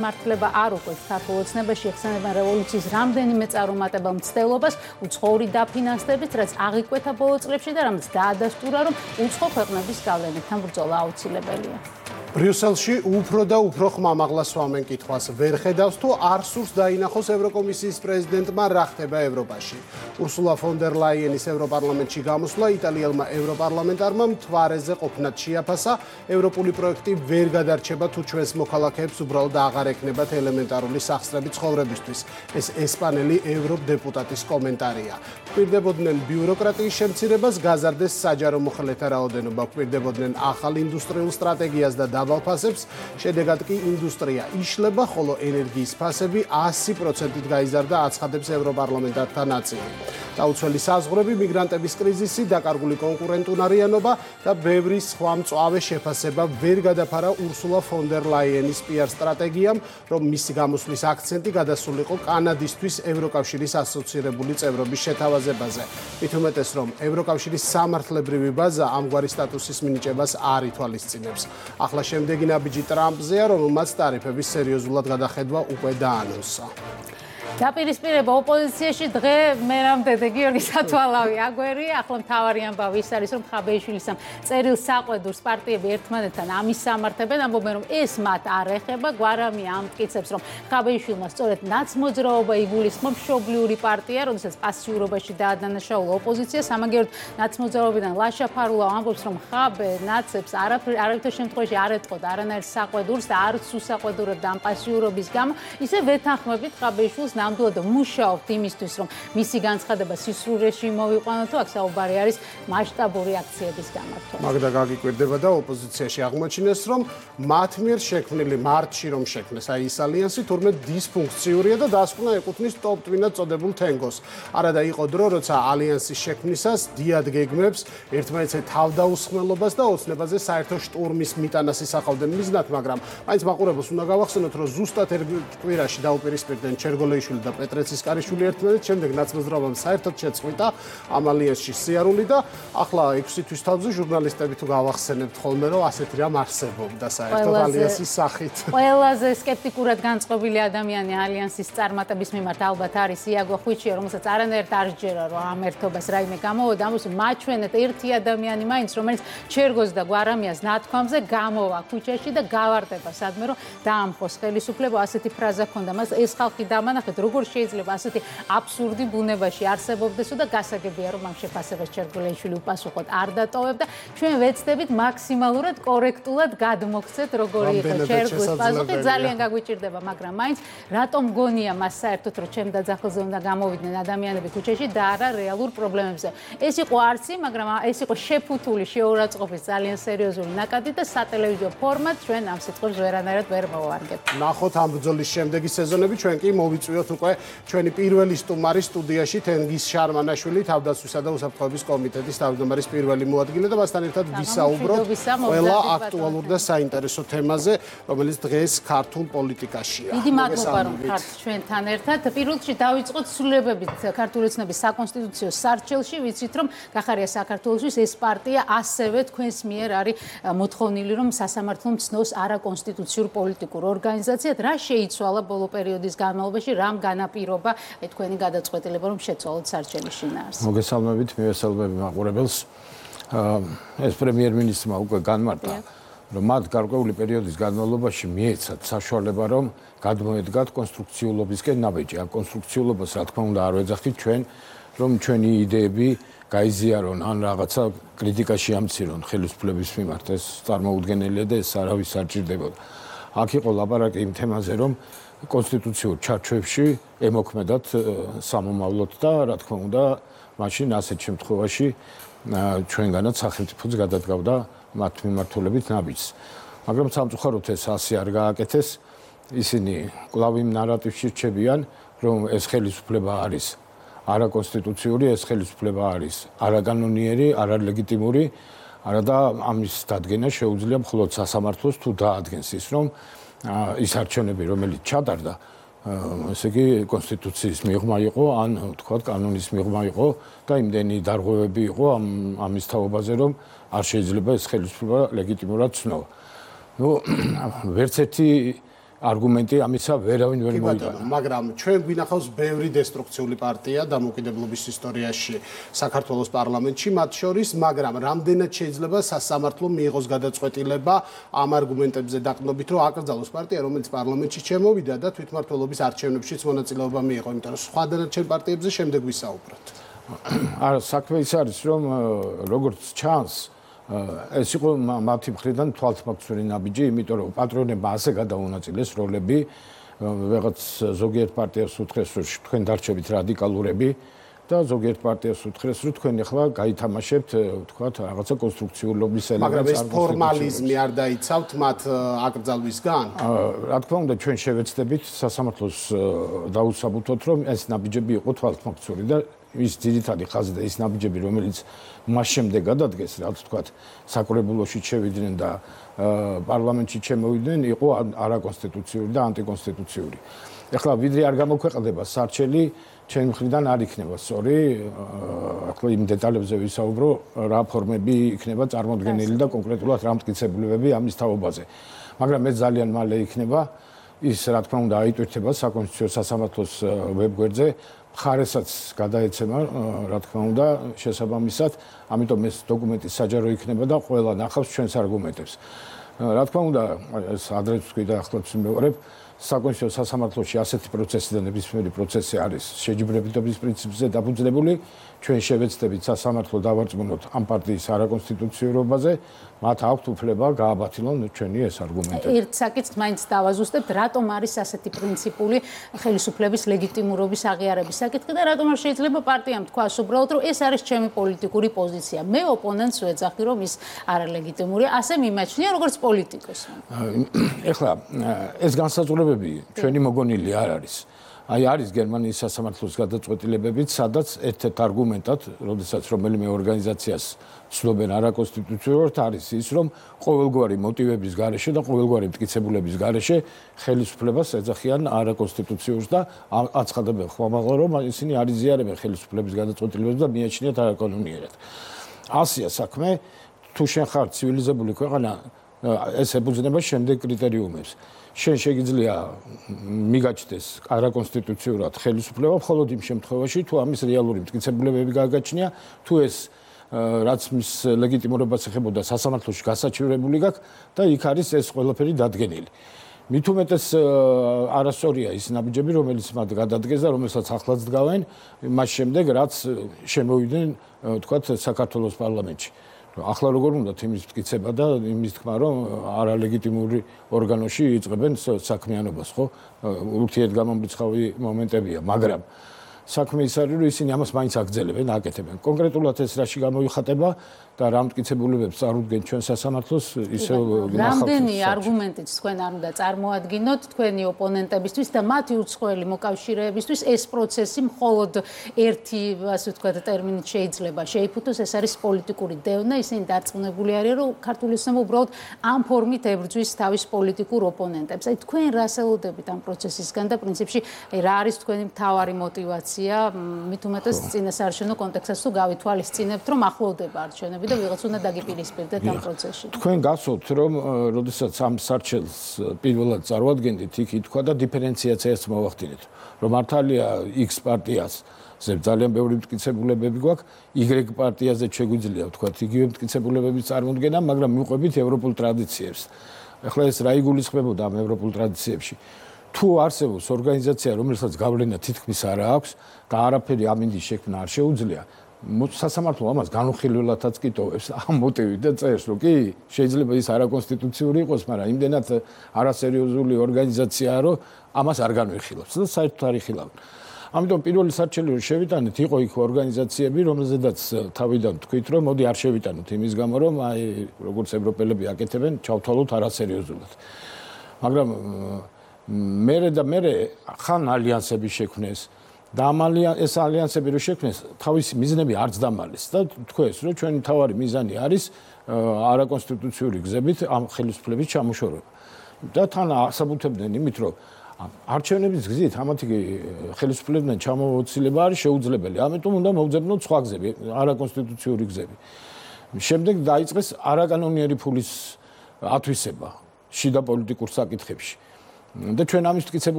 მართლება არ უყვეთ ქართულ ოცნებაში ეხსენებენ რევოლუციის რამდენიმე წარუმატებელ მცდელობას უცხოური დაფინანსებით, რაც აღიკვეთა ბოლო წლებში და რამაც დაადასტურა, რომ უცხო ქვეყნების გავლენებთან ბრძოლა აუცილებელია. ბრიუსელში უფრო და უფრო ხმამაღლა სვამენ კითხვას. ვერ ხედავს თუ არ სურს დაინახოს ევროკომისიის პრეზიდენტმა რა ხდება ევროპაში. ურსულა ფონ დერ ლაიენის ევროპარლამენტში გამოსვლა იტალიელმა ევროპარლამენტარმა მთვარეზე ყოფნად შეაფასა. ევროპული პროექტი ვერ გადარჩება თუ ჩვენს მოქალაქეებს უბრალოდ აღარ ექნებათ ელემენტარული სახსრები ცხოვრებისთვის. ეს ესპანელი ევროდეპუტატის კომენტარია. გვპირდებოდნენ ბიუროკრატიის შემცირებას, გაზარდეს საჯარო მოხელეთა რაოდენობა, გვპირდებოდნენ ახალ ინდუსტრიულ სტრატეგიას და დაბალფასებს, შედეგად კი ინდუსტრია იშლება, ხოლო ენერგიის ფასები 100%-ით გაიზარდა, აცხადებს ევროპარლამენტართა ნაწილი. დაუცველი საზღვრები, მიგრანტების კრიზისი, დაკარგული კონკურენტუნარიანობა და ბევრი სხვა მწვავე შეფასება ვერ გადაფარა ურსულა ფონ დერ ლაიენის PR სტრატეგიამ, რომ მისი გამოსვლის აქცენტი გადასულიყო კანადისთვის ევროკავშირის ასოცირებული წევრობის შეთავაზებაზე. მით უმეტეს, რომ ევროკავშირის სამართლებრივი ბაზა ამგვარი სტატუსის მინიჭებას არ ითვალისწინებს. ახლა შემდეგი ნაბიჯი ტრამპზეა, რომელმაც ტარიფების სერიოზულად გადახედვა უკვე დაანონსა. დაპირისპირება ოპოზიციაში დღე მერამდე გიორგი სათვალავი აგვერი, ახლა მთავარი ამბავი ის არის, რომ ხაბეიშვილის ამ წერილ საყვედურს პარტიები ერთმანეთთან ამისამართებენ, ამბობენ, რომ ეს მათ არ ეხება, გვარამი ამტკიცებს, რომ ხაბეიშვილმა სწორედ ნაცმოძრაობა იგულისხმობს მშობლიური პარტია, როდესაც პასიურობაში დაადანაშაულა ოპოზიცია, სამაგიეროდ ნაცმოძრაობიდან ლაშა ფარულა ამბობს, რომ ხაბე ნაცებს არავითარ შემთხვევაში არ ეტყოდა არანაირ საყვედურს და არც უსაყვედურებდა ამ პასიურობის გამო, ისე ვეთანხმებით ხაბეიშვილს ნამდვილად მუშაობთ იმისთვის, რომ მისი განცხადება სისრულეში მოვიყვანოთ, თუ აქ საუბარი არის მასშტაბური აქციების გამართვა. მაგდა გაგიკვირდება და ოპოზიციაში აღმოჩინეს, რომ მათ მიერ შექმნილი მარტში რომ შექმნეს აი ეს ალიანსი თურმე დისფუნქციურია და დასკვნა ეკუთვნის ტოპ ტვინად წოდებულ თენგოს. არადა იყო დრო, როცა ალიანსის შექმნისას დიად გეგმებს, ერთმანეთზე თავდაუსხმელობას და ოცნებაზე საერთო შტურმის მიტანას ისახავდნენ მიზნად, მაგრამ მაინც მაყურებელს უნდა გავახსენოთ, რომ ზუსტად ერთ კვირაში დაუპირისპირდნენ ჩერგოლეიშვილი და პეტრეცისკარიშვილი ერთმანეთს, შემდეგ ნაცმოძრაობამ საერთოდ შეწყვიტა ამ ალიანსში სიარული და ახლა 6 თვის თავზე ჟურნალისტები თუ გავახსენებთ ხოლმე, რომ ასეთი რამ არსებობდა საერთოდ ალიანსის სახით. ყველაზე სკეპტიკურად განწყობილი ადამიანი ალიანსის წარმატების მიმართ ალბათ არის იაგო ხვიჩია, რომელსაც არანაირად არ სჯერა, რომ ამ ერთობას რაიმე გამოვოდა, ამას მაჩვენეთ ერთი ადამიანი მაინც, რომელიც ჩერგოს და გვარამიას ნათქვამზე გამოვა ქუჩაში და გავარდება სადმე, რომ დაამხოს ხელისუფლება, ასეთი ფრაზა ჰქონდა მას, ეს ხალხი დამანახეთ, როგორ შეიძლება ასეთი აბსურდი ბუნებაში არსებობდეს და გასაგებია, რომ ამ შეფასებას ჩერგოლეიშვილი უპასუხოდ არ დატოვებდა. ჩვენ ვეცდებით მაქსიმალურად კორექტულად გადმოგცეთ, როგორი იყო ჩერგოს პასუხი, ძალიან გაგვიჭირდება, მაგრამ მაინც რატომ გონია მას საერთოდ, რომ ჩემ დაძახილზე უნდა გამოვიდნენ ადამიანები ქუჩაში და არა რეალურ პრობლემებზე. ეს იყო არცი, მაგრამ ეს იყო შეფუთული შეურაცხყოფის ძალიან სერიოზული ნაკადი და სატელევიზიო ფორმატ ჩვენ ამ სიტყვებს ვერანაირად ვერ მოვარგებთ. ნახოთ ამ ბრძოლის შემდეგი სეზონები, ჩვენ კი მოვიწვიოთ უკვე ჩვენი პირველი სტუმარი სტუდიაში თენგიზ შარმანაშვილი, თავდაცვისა და უსაფრთხოების კომიტეტის თავმჯდომარის პირველი მოადგილე და მასთან ერთად ვისაუბროთ ყველა აქტუალურ და საინტერესო თემაზე, რომელიც დღეს ქართულ პოლიტიკაშია. დიდი მადლობა, რომ ხართ ჩვენთან ერთად. პირველ რიგში დავიწყოთ ცვლილებებით ქართული ოცნების საკონსტიტუციო სარჩელში, ვიცით, რომ გახარია საქართველოსთვის ეს პარტია ასევე თქვენს მიერ არის მოთხოვნილი, რომ სასამართლო მცნოს არაკონსტიტუციურ პოლიტიკურ ორგანიზაციად. რა შეიცვალა ბოლო პერიოდის განმავლობაში, რამ განაპირობა თქვენი გადაწყვეტილება, რომ შეცვალოთ სარჩელის შინაარსი? მოგესალმებით, მივესალმები მაყურებელს. ეს პრემიერ-მინისტრმა უკვე განმარტა, რომ მათ გარკვეული პერიოდის განმავლობაში მიეცათ საშუალება, რომ გადმოედგათ კონსტრუქციულობისკენ ნაბიჯი. ამ კონსტრუქციულობას, რა თქმა უნდა, არ ვეძახით ჩვენ, რომ ჩვენი იდეები გაიზიარონ ან რაღაცა კრიტიკაში ამცირონ ხელისუფლების მიმართ. ეს წარმოუდგენელია და ეს არავის არ ჭირდებოდა. აქ იყო ლაპარაკი იმ თემაზე, რომ კონსტიტუციურ ჩარჩოებში ემოქმედათ სამომავლოდ და რა თქმა უნდა, მაშინ ასეთ შემთხვევაში ჩვენგანაც სახელმწიფოც გადადგავდა მათ მიმართულებით ნაბიჯს. მაგრამ სამწუხაროდ ეს ასე არ გააკეთეს. ისინი კვლავ იმ ნარატივში რჩებიან, რომ ეს ხელისუფლება არის არაკონსტიტუციური, ეს ხელისუფლება არის არაკანონიერი, არალეგიტიმური, არადა ამის დადგენა შეუძლია მხოლოდ სასამართლოს თუ დაადგენს ის, რომ ის არჩევნები, რომელიც ჩატარდა, ესე იგი კონსტიტუციის მიღმა იყო, ან თქვათ კანონის მიღმა იყო და იმდენი დარღვევები იყო ამის თაობაზე, რომ არ შეიძლება ეს ხელისუფლება ლეგიტიმურად ცნო. ვერც ერთი არგუმენტი ამისა ვერავინ ვერ მოიტანა. მაგრამ ჩვენ გვინახავს ბევრი დესტრუქციული პარტია დამოუკიდებლობის ისტორიაში საქართველოს პარლამენტში, მათ შორის, მაგრამ რამდენად შეიძლება სასამართლომ მიიღოს გადაწყვეტილება ამ არგუმენტებზე დაყრდნობით, რომ აკრძალოს პარტია, რომელიც პარლამენტში შემოვიდა და თვითმმართველობის არჩევნებშიც მონაწილეობა მიიღო, იმიტომ რომ სხვა დანარჩენ პარტიებზე შემდეგ ვისაუბროთ. არა, საქმე ის არის, რომ როგორც ჩანს, ეს იყო მათი მხრიდან თვალთმოქმედური ნაბიჯი, იმიტომ რომ პატრონებმა ასე გადაუნაწილეს როლები, ვიღაც ზოგიერთ პარტიას უთხრეს, რომ თქვენ დარჩებით რადიკალურები და ზოგიერთ პარტიას უთხრეს, რომ თქვენ ახლა გაითამაშებთ, ვთქვათ, რაღაცა კონსტრუქციულობის ელემენტს. მაგრამ ეს ფორმალიზმი არ დაიცავთ მათ აკრძალვისგან? რა თქმა უნდა, ჩვენ შევეცდებით სასამართლოს დაუსაბუთოთ, რომ ეს ნაბიჯები იყო თვალთმოქმედური და ის ძირითადი ხაზი და ის ნაბიჯები, რომელიც მას შემდეგ გადადგეს, რაც ვთქვათ, საკრებულოში შევიდნენ და პარლამენტში შემოვიდნენ, იყო არაკონსტიტუციური და ანტიკონსტიტუციური. ეხლა ვიდრე არ გამოქვეყნდება სარჩელი, ჩემი მხრიდან არ იქნება სწორი, ახლა იმ დეტალებზე ვისაუბრო, რა ფორმები იქნება წარმოდგენილი და კონკრეტულად რა მტკიცებულებები ამის თაობაზე. მაგრამ ეს ძალიან მალე იქნება, ის რა თქმა უნდა აიტვირთება საკონსტიტუციო სასამართლოს ვებგვერდზე. მხარესაც გადაეცემა, რა თქმა უნდა, შესაბამისად, ამიტომ ეს დოკუმენტი საჯარო იქნება და ყველა ნახავს ჩვენს არგუმენტებს. რა თქმა უნდა, ეს ადრეც ვთქვი და ახლაც მივყრებ, საკონსტიტუციო სასამართლოში ასეთი პროცესი და ნებისმიერი პროცესი არის შეჯიბრებითობის პრინციპზე დაფუძნებული. ჩვენ შევეცდებით სასამართლო დავარწმუნოთ ამ პარტიის არაკონსტიტუციურობაზე, მათ აქვთ უფლება გააბათილონ ჩვენი ეს არგუმენტები. ერთ საკითხს მაინც დავაზუსტებთ, რატომ არის ასეთი პრინციპული ხელისუფლების ლეგიტიმურობის აღიარების საკითხი და რატომ არ შეიძლება პარტიამ თქვას უბრალოდ, რომ ეს არის ჩემი პოლიტიკური პოზიცია. მე ოპონენტს ვეძახი, რომ ის არალეგიტიმურია, ასე მიმაჩნია როგორც პოლიტიკოსმა. ეხლა ეს განსაზღვრებები ჩვენი მოგონილი არ არის. აი არის გერმანიის სასამართლოს გადაწყვეტილებებიც, სადაც ერთ-ერთ არგუმენტად, როდესაც რომელიმე ორგანიზაციას ცნობენ არაკონსტიტუციურად, არის ის, რომ ყოველგვარი მოტივების გარეშე და ყოველგვარი მტკიცებულების გარეშე ხელისუფლებას ეძახიან არაკონსტიტუციურს და აცხადებენ ხმამაღლა, რომ ისინი არ იზიარებენ ხელისუფლების გადაწყვეტილებებს და მიაჩნიათ არაკანონიერად. ასია საქმე, თუ შენ ხარ ცივილიზებული ქვეყანა, ეს ებრძნება შემდეგ კრიტერიუმებს. შენ შეგიძლია მიგაჩნდეს არაკონსტიტუციურად ხელისუფლება მხოლოდ იმ შემთხვევაში, თუ ამის რეალური მტკიცებულებები გააგაჩნია, თუ ეს რაც მის ლეგიტიმურობას ეხებოდა სასამართლოში გასაჩივრებული გაქვს და იქ არის ეს ყველაფერი დადგენილი. მით უმეტეს არასწორია ის ნაბიჯები, რომელიც მათ გადადგეს და რომელსაც ახლაც დგავენ, მას შემდეგ რაც შემოვიდნენ, ვთქვათ, საქართველოს პარლამენტში. ახლა როგორ უნდა იმის მტკიცება და იმის თქმა, რომ არალეგიტიმური ორგანოში იწყებენ საქმიანობას, ხო? ურთიერთგამომრიცხავი მომენტებია, მაგრამ საქმე ის არის, რომ ისინი ამას მაინც აგრძელებენ, აკეთებენ. კონკრეტულად ეს რაში გამოიხატება და რა მტკიცებულებებს წარუდგენ ჩვენ სასამართლოს, ისე რამდენი არგუმენტით თქვენ არ უნდა წარმოადგინოთ თქვენი ოპონენტებისთვის და მათი უცხოელი მოკავშირეებისთვის ეს პროცესი მხოლოდ ერთი, ასე ვთქვათ, ტერმინით შეიძლება შეიფუთოს, ეს არის პოლიტიკური დევნა, ისინი დარწმუნებული არიან, რომ ქართული ოცნება უბრალოდ ამ ფორმით ებრძვის თავის პოლიტიკურ ოპონენტებს. აი თქვენ რას ელოდებით ამ პროცესისგან და პრინციპში რა არის თქვენი მთავარი мотиваცია, მით უმეტეს წინასაარჩევნო კონტექსტს თუ გავითვალისწინებთ, რომ ახლოვდება არჩევნები და ვიღაც უნდა დაგიპირისპირდეთ ამ პროცესში. თქვენ გასვოთ, რომ როდესაც ამ სარჩელს პირველად წარვადგენდით, იქ ითქვა და დიფერენციაციას მოვახდინეთ, რომ მართალია X პარტიას ძალიან ბევრი მტკიცებულებები გვაქვს, Y პარტიაზე შეგვიძლია ვთქვათ, იგივე მტკიცებულებების წარმოდგენა, მაგრამ მიყვებით ევროპულ ტრადიციებს. ახლა ეს რა იგულისხმებოდა ამ ევროპულ ტრადიციებში? თუ არსებობს ორგანიზაცია, რომელსაც გავლენა თითქმის არ აქვს და არაფერი ამინდის შექმნა არ შეუძლია, სასამართლო ამას განუხილველადაც კი ტოვებს ამ მოტივით და წერს, რომ კი შეიძლება ის არაკონსტიტუციური იყოს, მაგრამ იმდენად არასერიოზული ორგანიზაციაა, რომ ამას არ განვიხილავს და საერთოდ არ იხილავენ. ამიტომ პირველი სარჩელი რომ შევიტანეთ, იყო იქ ორგანიზაციები, რომელზედაც თავიდან თქვით, რომ მოდი არ შევიტანოთ იმის გამო, რომ აი როგორც ევროპელები აკეთებენ, ჩავთვალოთ არასერიოზულად. მაგრამ მე ხან ალიანსები შექმნეს და ეს ალიანსები რო შექმნეს, თავისი მიზნები არც დამალეს და თქვეს, რომ ჩვენი თავარი მიზანი არის არაკონსტიტუციური გზებით ამ ხელისუფლების ჩამოშორება. და თან ასაბუთებდნენ იმით, რომ არჩევნების გზით ამათი ხელისუფლებიდან ჩამოვოცილება არის შეუძლებელი. ამიტომ უნდა მოვძებნოთ სხვა გზები, არაკონსტიტუციური გზები. შემდეგ დაიწყეს არაკანონიერი ფულის ათვისება შიდა პოლიტიკურ საკითხებში. და ჩვენ ამის მტკიცებულ